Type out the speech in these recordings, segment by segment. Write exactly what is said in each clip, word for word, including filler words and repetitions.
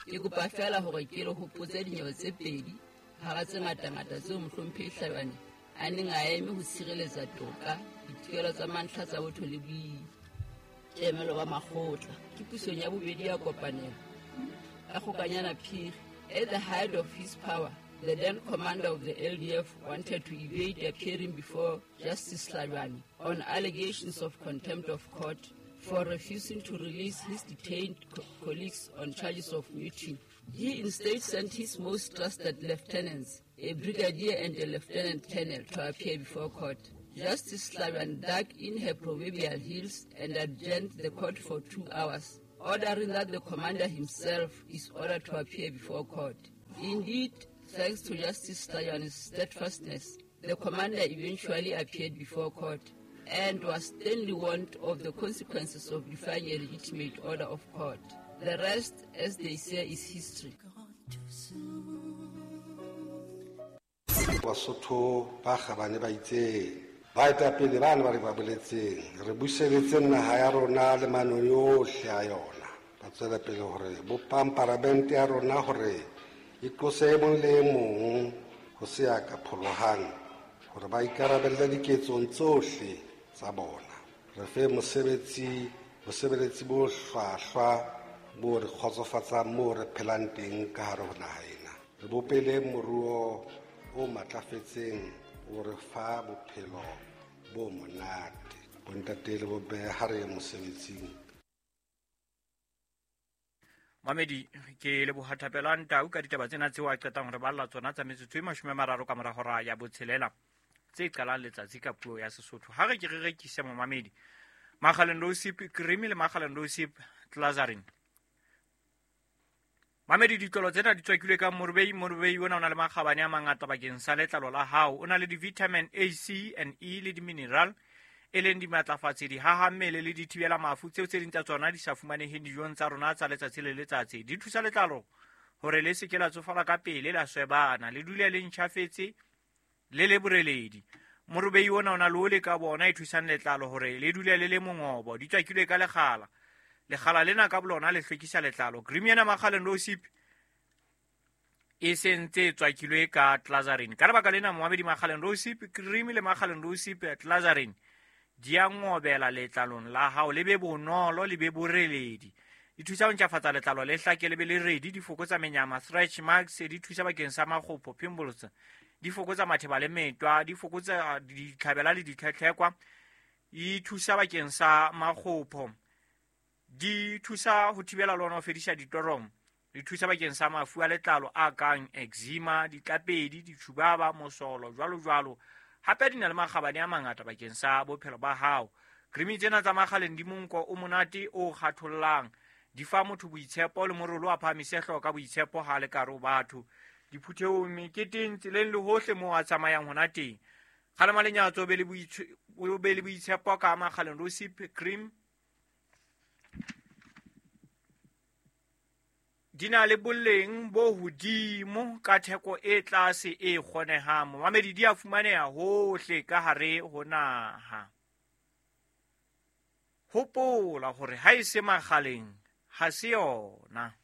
Ke kopa feela hore ke le hopotse dinyewe tse pedi hara tse ngatangata tseo Mohlomphehi Hlabane a neng a eme ho tshireletsa toka, ditokelo tsa mantlha tsa botho le boikemelo ba makgotla. Ke pusong ya bobedi ya kopanelo ka Kgokanyana Phiri. At the height of his power, the then commander of the L D F wanted to evade appearing before Justice Hlabane on allegations of contempt of court for refusing to release his detained co- colleagues on charges of mutiny. He instead sent his most trusted lieutenants, a brigadier and a lieutenant colonel, to appear before court. Justice Hlabane dug in her proverbial heels and adjourned the court for two hours, ordering that the commander himself is ordered to appear before court. Indeed, thanks to Justice Hlabane's steadfastness, the commander eventually appeared before court and was sternly warned of the consequences of defying a legitimate order of court. The rest, as they say, is history. Basotho ba kgabane ba itseng, baetapele ba ne ba re ba boletseng, re buseletse naha ya rona le manong yohle a yona. Ba tswela pele hore bopang paramente ya rona hore e qose e mong le e mong ho se ya ka pholohang, hore ba ikarabelle diketsong tsohle tsa bona. Re fe mosebetsi, bosebeletsi bo hlwahlwa bo re kgotsofatsang moo re phelang teng ka hare ho naha ena. Re bopele moruo o matlafetseng o re fa bophelo bo monate. Bontate le bomme ha re ye mosebetsing. Mamedi, ke leboha Thapelo Ntau ka ditaba tsena tseo a qetang re balla tsona tsa metsotso e mashome a mararo ka mora hora ya botshelela tse qalang letsatsi ka puo ya Sesotho. Ha re ke re rekise momamedi Makgaleng Rosip cream le Makgaleng Rosip Glazarin. Mamedi, ditlolo tsena di tswakilwe ka morobei. Morobei ona o na le makgabane a mangata bakeng sa letlalo la hao. O na le di-vitamin A, C and E le di-mineral, e leng dimatlafatsi, dihaha mmele le dithibela mafu tseo tse ding tsa tsona di sa fumaneheng dijong tsa rona tsa letsatsi le letsatsi. Di thusa letlalo hore le se ke la tsofala ka pele, la swebana, le dule le ntjhafetse le le boreledi. Morobei ona o na le ole ka bona e thusang letlalo hore le dule le le mongobo. Di tswakilwe ka lekgala. Lekgala lena ka bolona le hlwekisa letlalo. Cream ena Makgaleng Rosip e sentse e tswakilwe ka Glazarin. Ka lebaka lena momamedi, Makgaleng Rosip cream le Makgaleng Rosip Glazarin di a ngobela letlalong la hao, le be bonolo, le be boreledi. Di thusa ho ntjhafatsa letlalo le hlake, le be le redi, di fokotsa menyama, stretch marks, di thusa bakeng sa makgopo, pimples, di fokotsa matheba le metwa, di fokotsa ditlhabela le ditlhetlhekwa, di thusa bakeng sa makgopo, di thusa ho thibela le hona ho fedisa ditoromo, di thusa bakeng sa mafu a letlalo a kang eczema, ditlapedi, ditshubaba, mosolo, jwalo jwalo. Hape di na le makgabane a mangata bakeng sa bophelo ba hao. Cream tsena tsa Makgaleng di monko o monate o kgathollang, di fa motho boitshepo le morolo a phahamise hlooho ka boitshepo ha le kare ho batho. Diphuthehong, meketeng, tseleng le hohle moo a tsamayang hona teng. Kgalema lenyatso, o be le boitshe-, o be le boitshepo ka Makgaleng Rosip cream. Di na le boleng bo hodimo ka theko e tlase e kgonehang. Momamedi, di a fumaneha hohle ka hare ho naha. Hopola hore ha e se Makgaleng, ha se yona.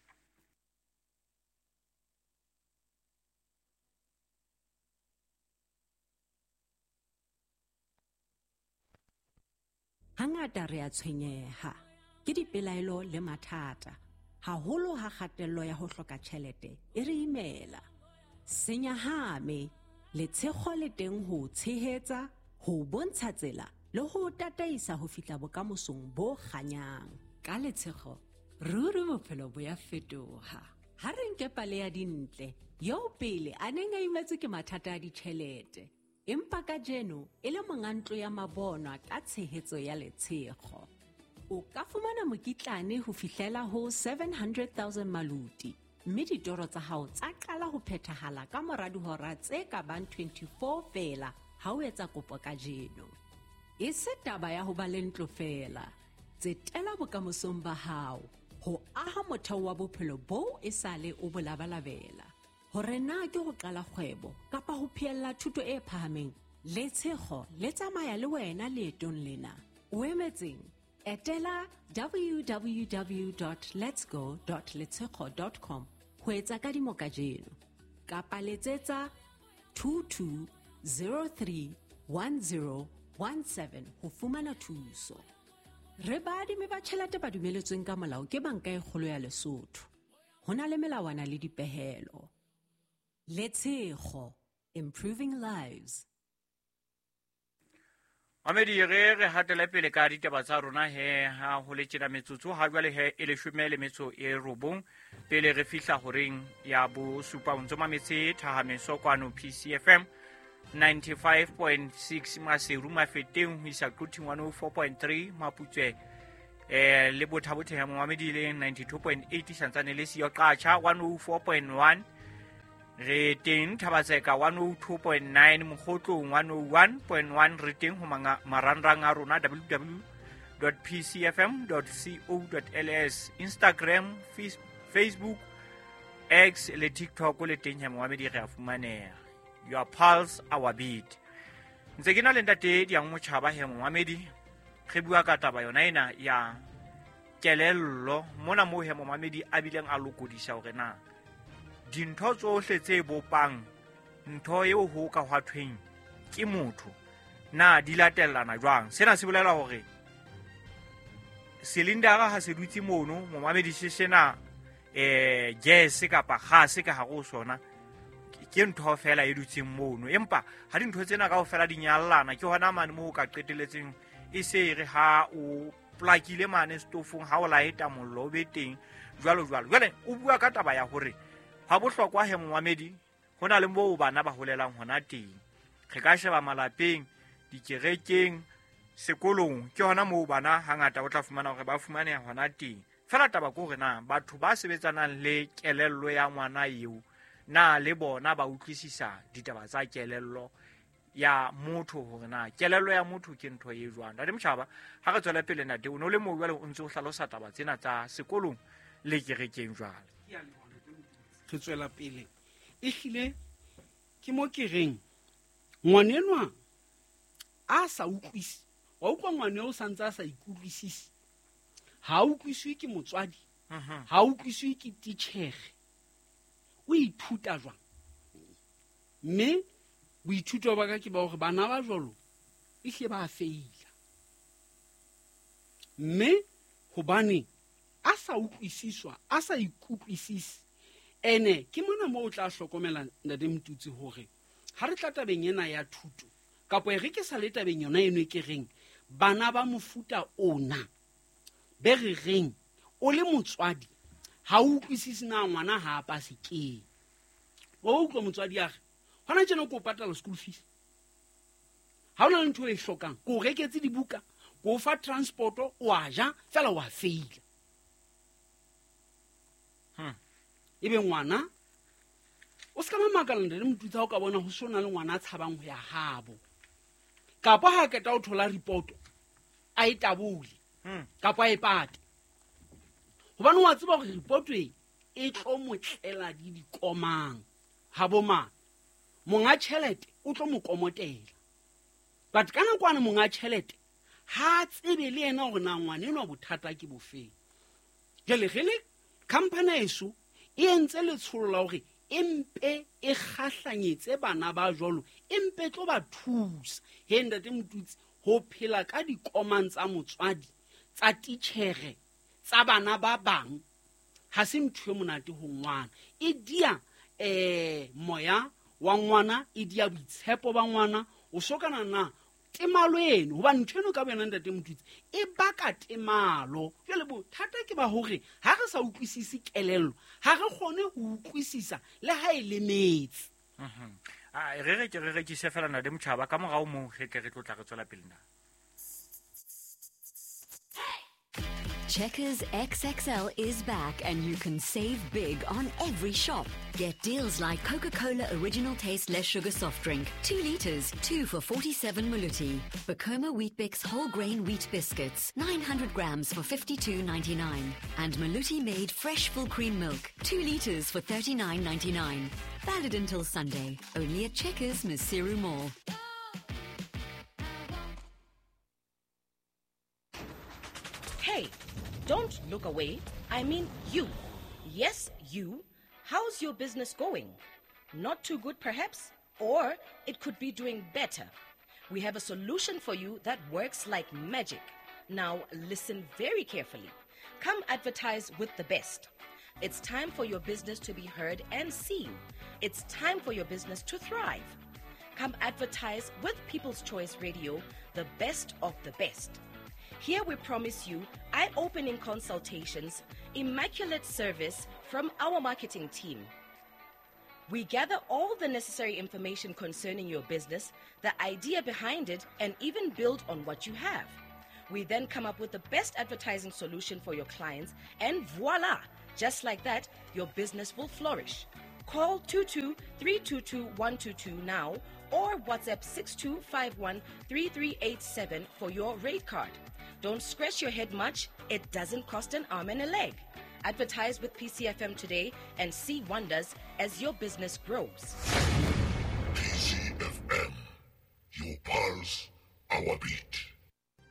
Hangata re a tshwenyeha ke dipelaelo le mathata, haholo ha kgatello ya ho hloka tjhelete e re imela. Senyahame, letshego le teng ho tshehetsa, ho bontsha tsela le ho tataisa ho fihla bokamosong bo kganyang. Ka letshego, ruri bophelo bo ya fetoha. Ha re nke pale ya Dintle, eo pele a neng a imetswe ke mathata a ditjhelete, empa kajeno e le monga ntlo ya mabonwa ka tshehetso ya letshego. O ka fumana mokitlane ho fihlela ho seven hundred thousand maluti, mme ditoro tsa hao tsa qala ho phethahala ka mora dihora tse ka bang twenty-four feela ha o etsa kopo kajeno. E se taba ya ho ba le ntlo feela, tsetela bokamosong ba hao ho aha motheo wa bophelo boo e sale o bo labalabela. Hore na ke ho qala kgwebo kapa ho phehella thuto e phahameng, letshego le tsamaya le wena leetong lena. O emetseng? Etela w w w dot letsgo dot letshego dot com ho etsa kadimo kajeno. Kapa letsetsa two two zero three one zero one seven ho fumana thuso. Re baadimi ba tjhelete ba dumeletsweng ka molao ke Banka e Kgolo ya Lesotho. Ho na le melawana le dipehelo. Letshego, improving lives. Mamedi re re hatele pele ka ditaba tsa rona he ha ho le tjena metsotso ha jwale he e leshome le metso e robong pele re fihla horeng ya bosupa. O ntso mametse Thahameso kwano P C F M ninety-five point six Maseru Mafeteng ho isa Quthing one oh four point three Maputswe eh le Botha-Bothe ya Momamedi le ninety-two point eight santsane le siyo Qacha one oh four point one re teng Thabatseka one oh two point nine Mokgotlong one oh one point one re teng ho marangrang a rona w w w dot p c f m dot co dot l s Instagram, Facebook, X le TikTok le teng ya Momamedi re a fumaneha. Your pulse, our beat. Ntse ke na le ntate Diang Motjhaba he Momamedi re bua ka taba yona ena ya kelello mona moo he Momamedi a bileng a lokodisa hore na dintho tsohle tse bopang ntho eo ho ka hwa thweng ke motho na di latellana jwang. Sena se bolela hore silindara ha se dutse mono Momamedi se sena eh gas kapa gase ka hare ho sona ke ntho fela e dutseng mono, empa ha dintho tsena kaofela di nyallana ke hona mane moo ka qeteletseng e se re ha o plakile mane stofong ha o laeta mollo o be teng jwalo jwalo. Jwale o bua ka taba ya hore ha bohlokwa he Momamedi ho na le moo bana ba holelang hona teng. Re ka sheba malapeng, dikerekeng, sekolong, ke hona moo bana hangata o tla fumana hore ba fumaneha hona teng. Fela taba ke hore na batho ba sebetsanang le kelello ya ngwana eo na le bona ba utlwisisa ditaba tsa kelello ya motho hore na kelello ya motho ke ntho e jwang. Ntate Motjhaba, ha re tswele pele ntate, o no le moo jwale o ntse o hlalosa taba tsena tsa sekolong le kerekeng jwale. Re tswela pele. Ehlile ke mo ke reng ngwanenwa a sa utlwisi, wa utlwa ngwane o santse a sa ikutlwisisi, ha utlwiswe ke motswadi, ha utlwiswe ke titjhere, o ithuta jwang? Mme boithuto ba ka ke ba hore bana ba jwalo ehlile ba feila. Mme hobane a sa utlwisiswa, a sa ikutlwisisi, ene ke mona moo o tla hlokomela ntate Motutsi hore ha re tla tabeng ena ya thuto kapa e re ke sa le tabeng yona eno e ke reng bana ba mofuta ona be re reng o le motswadi ha o utlwisise na ngwana ha a pase keng. O utlwa motswadi a re hona tjena ko patala school fees, ha ona ntho e hlokang, ko reketse dibuka, ko fa transport, o a ja fela wa feila. Hmm. Ebe ngwana o ska mamakala ntate Motutsi ha o ka bona ho sona le ngwana a tshabang ho ya habo, kapa ha keta o thola report a e tabole kapa a e pate, hobane wa tseba hore report e e tlo motlela di dikomang ha bo mang monga tjhelete o tlo mo komotela. But ka nakwana monga tjhelete ha tsebe le yena hore na ngwana enwa bothata ke bofeng. Jwale re le company eso e entse letsholo la hore empe e kgahlanyetse bana ba jwalo, empe tlo ba thusa he ntate Motutsi ho phela ka dikomang tsa motswadi, tsa titjhere, tsa bana ba bang ha se ntho e monate ho ngwana. E dia eh moya wa ngwana, e dia boitshepo ba ngwana, o sokana na temalo eno, hobane ntho eno ka boyena ntate Motutsi e baka temalo. Jwale bothata ke ba hore ha re sa utlwisise kelello, ha re kgone ho utlwisisa le ha e lemetse. Mhm. A re re ke re rekise fela ntate Motjhaba ka morao moo re tle re tlo tla re tswela pele na. Checkers X X L is back and you can save big on every shop. Get deals like Coca-Cola Original Taste Less Sugar Soft Drink, two litres, two for forty-seven Maluti. Bacoma Weet-Bix Whole Grain Wheat Biscuits, nine hundred grams for fifty-two ninety-nine. And Maluti Made Fresh Full Cream Milk, two litres for thirty-nine ninety-nine. Valid until Sunday, only at Checkers Maseru Mall. Don't look away. I mean you. Yes, you. How's your business going? Not too good, perhaps? Or it could be doing better. We have a solution for you that works like magic. Now, listen very carefully. Come advertise with the best. It's time for your business to be heard and seen. It's time for your business to thrive. Come advertise with People's Choice Radio, the best of the best. Here we promise you eye-opening consultations, immaculate service from our marketing team. We gather all the necessary information concerning your business, the idea behind it, and even build on what you have. We then come up with the best advertising solution for your clients, and voila! Just like that, your business will flourish. Call two two three two two one two two now or WhatsApp six two five one three three eight seven for your rate card. Don't scratch your head much. It doesn't cost an arm and a leg. Advertise with P C F M today and see wonders as your business grows. P C F M, your pulse, our beat.